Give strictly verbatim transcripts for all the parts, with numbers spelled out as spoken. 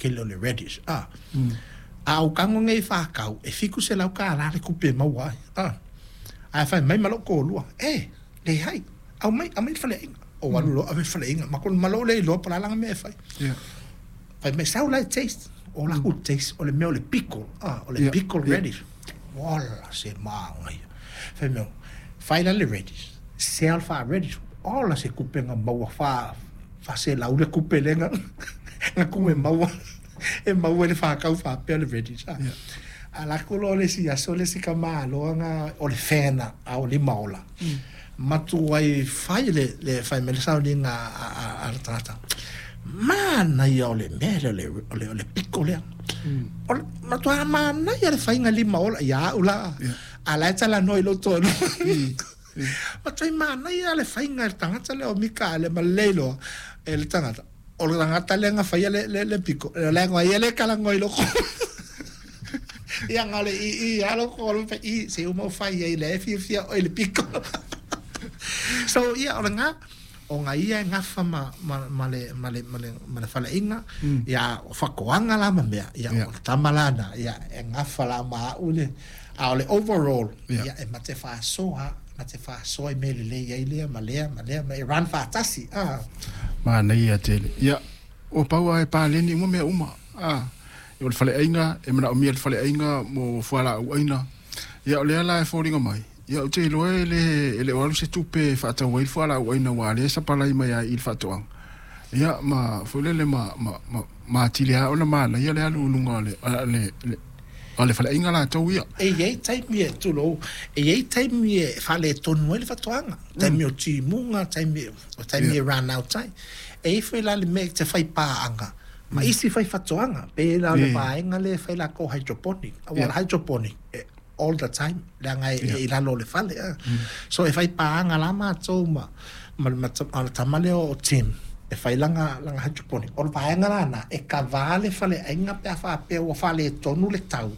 tele o le radish a. A o tago nei fa'atau e fitu selau tālā le tupe e maua ai a. Ae fai mai ma lo'u toalua, e leai, aumai, aumai le faleaiga. Ou alu loa ave le faleaiga ma ma lou le iloa po o le a laga mea e fai. Fai mai, sau la e taste. O laku taste o le mea o le pickle a, o le pickle radish. Ola se manaia. Fai mai, fai la le radish, sell fa radish. Ola se kupega maua fa faaselau le kupe lega na ku e maua e maua i le fa'atau fa'apea le radish a. A lakou loa le isi aso le isi kamāloa o le fena a o lima ola. Matuai fai le le fai mai le sauniga a, a, a le tagata. Manaia o le mea lea o le, o le, o le pickle lea. O le matuā manaia le faiga lima ola ia a'u la. A la e talanoa i lou toalua. Matuai manaia le faiga e le tagata lea o Mika le ma lelei loa e le tagata. O le tagata lea na faia le, le, le pickle. Le leaga ia le kalagoa i loko. Ia nga le i i alo ko lo i se uma fai ai le fiafia o le pickle. So ia o le nga o nga ia e gafa ma, ma, ma le, ma le, ma le, ma le faleaiga ia o faatoaga la ma mea ia o le tama lana ia e gafa la ma a'u le a o le overall ia e mate fa'asoa mate fa'asoa i mea lelei ai lea ma lea ma lea ma e run fa'atasi a. Manaia tele. Ia, ua pau lava e paleni uma mea uma. A, o le faleaiga e manaomia le faleaiga mo fualaau aina. Ia, o lea la e foliga mai. Ia, ou te iloa e le e le o alu se tupe e faatau ai le fualaau aina ua lea sapalai mai ai i le faatoaga. Ia, ma foi lele ma ma ma ma atili lava ona manaia le alu i luga o le le le o le faleaiga latou ia. E iai taimi e tulou, e iai taimi e faaletonu ai le faatoaga, taimi o timuga, taimi o taimi e run out ai. E i foi la le mea e te fai paaga ma isi fai faatoaga, pe la o le vaega lea e fai lakou hydroponic. Aua o le hydroponic e all the time, leaga e i lalo o le fale a. So e fai paaga la matou ma ma ma le tama lea o Tim e fai laga laga hydroponic. O le vaega lana e kavā le faleaiga pe a faapea ua faaletonu le tau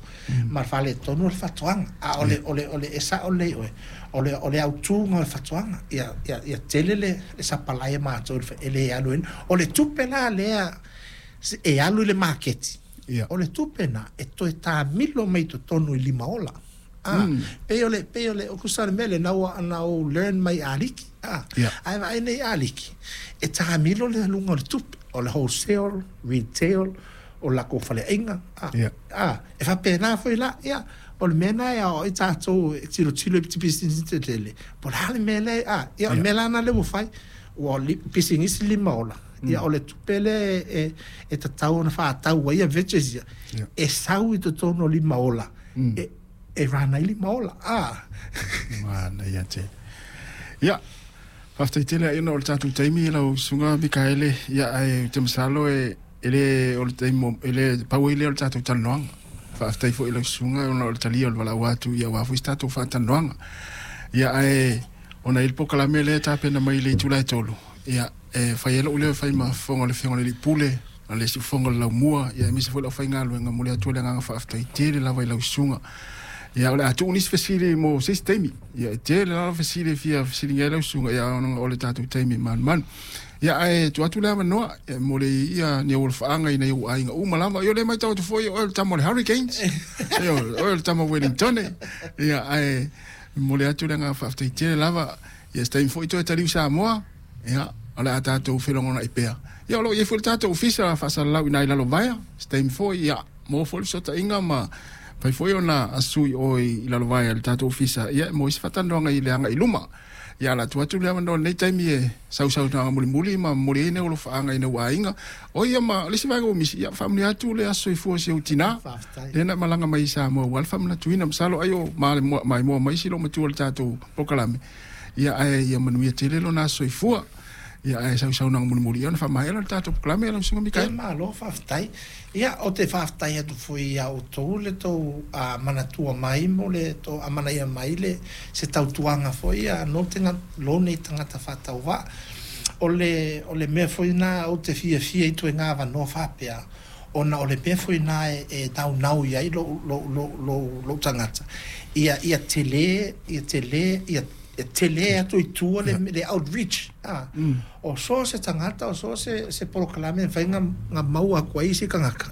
ma le faaletonu le faatoaga. A o le o le o le e sa'o lelei oe, o le o le autuga o le faatoaga ia ia ia tele le le sapalai a matou e le alu ai. O le tupe la lea e alu i le maketi. O le tupe na e toe tāmilo mai i totonu i lima ola. A, pei o le pei o le o kusa o le mea lena ua na ou learn mai aliki. A, ae vaai nei aliki, e tāmilo le aluga o le tupe, o le wholesale, retail, o lakou faleaiga. A, a, e faapena foi la, ia, o le mea lena e aoai tatou e tilotilo i pisinisi tetele, po o le a le mea lea, a, ia, o le mea la lena lea ua fai, ua pisinisi lima ola, ia, o le tupe lea e, e tatau ona fa'atau ai ia veggies ia, e sau i totonu o lima ola, e, e run ai lima ola. A. Manaia tele. Ia, faafetai tele ai ona o le tatou taimi lau susuga Mikaele. Ia, ae ou te masalo e e le o le taimi e le pau ai lea o le tatou talanoaga. Faafetai foi i lau susuga ona o le talia o le valaau atu ia aua foi se tatou faatalanoaga. Ia, ae ona i le polokalame lea e tapena mai i le itula e tolu, ia e fai ai lou leo e fai ma fofoga o le Afioga i le Alii Pule, a le siufofoga o le Laumua, ia aemaise foi le aufaigaluega. Momoli atu ai le agaga faafetai tele lava i lau susuga. Ia, o le a tuu nisi fesili mo se isi taimi. Ia, e tele lava fesili e fia fesiligia ai lau susuga, ia ona o le tatou taimi e manumanu. Ia, ae tuu atu le avanoa e mo le ia ni au alofaaga i nai ou aiga uma lava. Ia, o lea e matau atu foi o oe o le tama o le Hurricanes. Ia, o oe o le tama o Wellington. Ia, ae momoli atu le agaga faafetai tele lava. Ia, se taimi foi toe taliu Samoa, ia, o le a tatou felogonai pea. Ia, o lo o i ai foi le tatou ofisa faasalalau i ina i Lalovaea. Se taimi foi, ia, maua foi le fesootaiga ma fai foi ona asu i o i Lalovaea i le tatou ofisa, ia, e maua ai se faatalanoaga i le agai i luma. Ia, o le a tuu atu le avanoa i lenei taimi e sausaunoaga mulimuli ma momoli ai nei alofaaga i nai ou aiga. O ia ma le isi vaega ua misi, ia, faamanuia atu le aso soifua o si ou tinā lea na malaga mai i Samoa aua le faamanatuina. Masalo ai o maimoa mai si loomatua i le tatou polokalame. Ia, ae ia manuia tele lona aso soifua. Ia, ae sausaunoaga mulimuli ia ona faamaea lea o le tatou polokalame lau susuga Mikaele. E malo faafetai. Ia, ou te faafetai atu foi iā outou le tou manatua mai mo le tou amanaia mai le se tautuaga foi ia no te lou nei tagata faatauvaa. O le o le mea foi lena ou te fiafia i ituaiga avanoa faapea, ona o le mea foi lena e e naunau i ai lou lou lou lou tagata, ia ia tele ia tele ia e tele atu i tua le, le outreach a. O so o se tagata, o so o se, se polokalame e mafai ona maua atu ai isi tagata.